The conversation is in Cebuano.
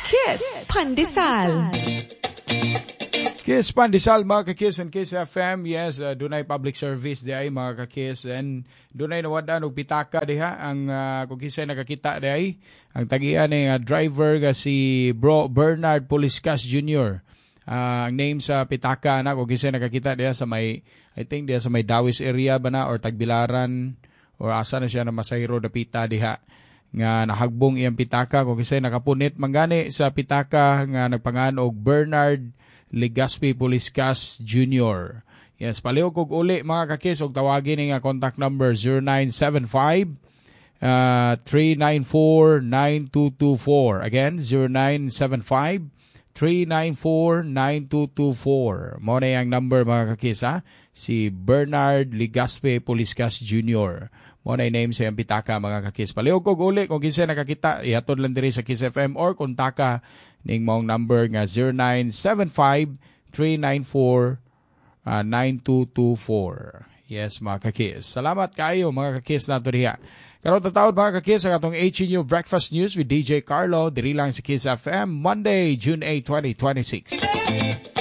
Kiss Pandesal. Kiss Pandesal, mga ka-Kiss and Kiss FM. Yes, dunay public service diay, mga ka-Kiss, and dunay nawad-an og pitaka diha ang kung kinsay nakakita diay ang tagian ni driver nga si Bro Bernard Puliscas Jr. Ang name sa pitaka na, kung kinsay nakakita diha sa may, I think diha sa may Dawis area ba na or Tagbilaran or asa na siya na masahiro dapita diha nga nahagbong iyang pitaka. Kung kinsay nakapunit mangani sa pitaka nga nagpangan og Bernard Legaspi Puliscas Jr. Yes, palihog kog uli, mga kakis, og tawagin ni nga contact number 0975 394 9224. Again, 0975 394 9224. Mao na ang number, mga kakis, ha? Si Bernard Legaspi Puliscas Jr. Mao na name sa iyang pitaka, mga kakis. Palihog kog uli, kung kinsa nakakita, ihatod lang diri sa Kiss FM or kontaka ning maong number nga 0975 394 9224. Yes, mga kakis. Salamat kaayo, mga kakis, nato diha. Karon tatawad, mga kakis, ang atong HNU Breakfast News with DJ Carlo diri lang sa Kiss FM, Monday, June 8, 2026.